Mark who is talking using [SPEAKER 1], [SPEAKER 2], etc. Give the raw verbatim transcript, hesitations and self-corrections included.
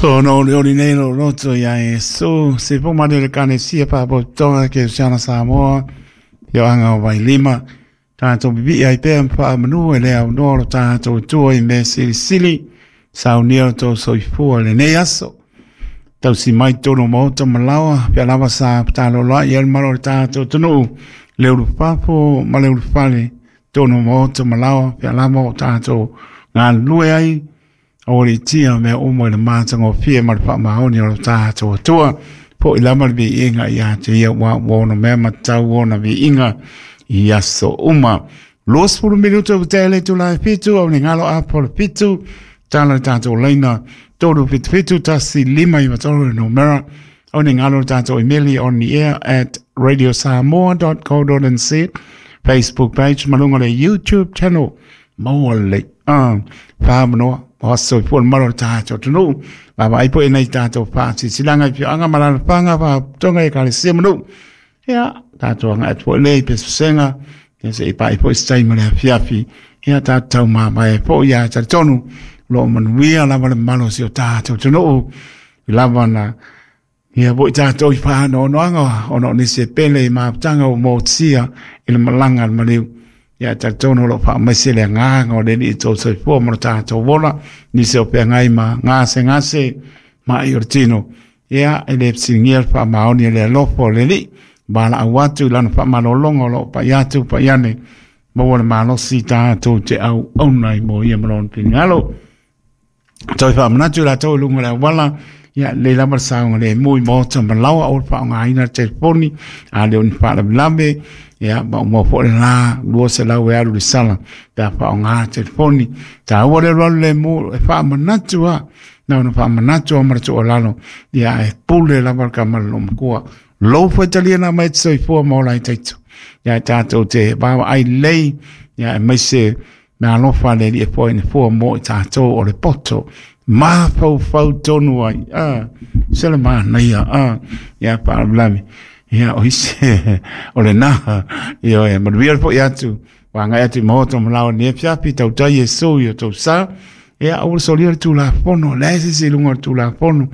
[SPEAKER 1] So no le oli nei lo loto ia e so se po mane le kane sia pa po tonga ke siana Samoa yo anga o vai lima tātou bibi ai pea mpa manu e lea no lo tātou tua i me sili sili saunia o tō soifua le nei aso. Tau si mai tōno maota malawa pia lava sa tālo la i el malo le tātou tunu le uru papo ma le uru fale tōno maota malawa pia lava o tātou ngā lue ai o le tia mea umo i le mātanga o fia ma le whaamaoni o le tātou atua po i lama le viiga ia te ia wa wona mea matau ona viiga i aso uma. Luasefulu minuto o tele tu lai fitu au ni ngalo apo le fitu tala le tātou leina tolu fitu fitu tasi lima i matolo le numera au ni ngalo le tātou emeli on the air at radio samoa dot co dot nz Facebook page malunga le YouTube channel maua le ah whamanoa o so i pua malo le tātou tunu baba ai po e nei tātou pāti silanga i pio anga malala panga pa tonga e kare se manu ia tātou anga atu po lei pe susenga ia se i pa i po i stai ma le afiafi ia tātou mā mai po ia talitonu lo manuia lava le malo si o tātou tunu i lava na ia po i tātou i pāno ono anga ono nisi e pele i māputanga o mōtia i le malanga le maliu ia talitonu lo wha mai se le ngānga o le ni i tō soifua mo tātou wola nisi o pea ngai ma ngāse ngāse ma i o tino ia e le psingia le wha maoni le alofa o le li bala au atu lana wha malolongo lo pa iatu pa iane maua le malosi tātou te au aunai mo ia malon pingalo toi wha manatu la tau lunga le awala ia le lama le saunga le mui mōta malawa o le wha ngā ina telefoni a le oni wha lave ia ma mo po le la lua se lau e alu le sala pe wha ngā telefoni ta ua le roa le mo e wha manatu a na ona wha manatu a maratu o lalo ia e pule lava le kamala lo makua lou whaitalia na mai te soifua ma ola i taitu ia tātou te wawa ai lei ia e maise me alofa le li e poe ne fua mo i tātou o le poto ma fau fau tonu ai ah se le manaia ah ia whaalavelave ia o ise o le na ia e manuia le po i atu wanga atu i mahoto malawa ni e fiapi tautai e sou i o tau sa ia au le solia le tulafono le se se lunga o le tulafono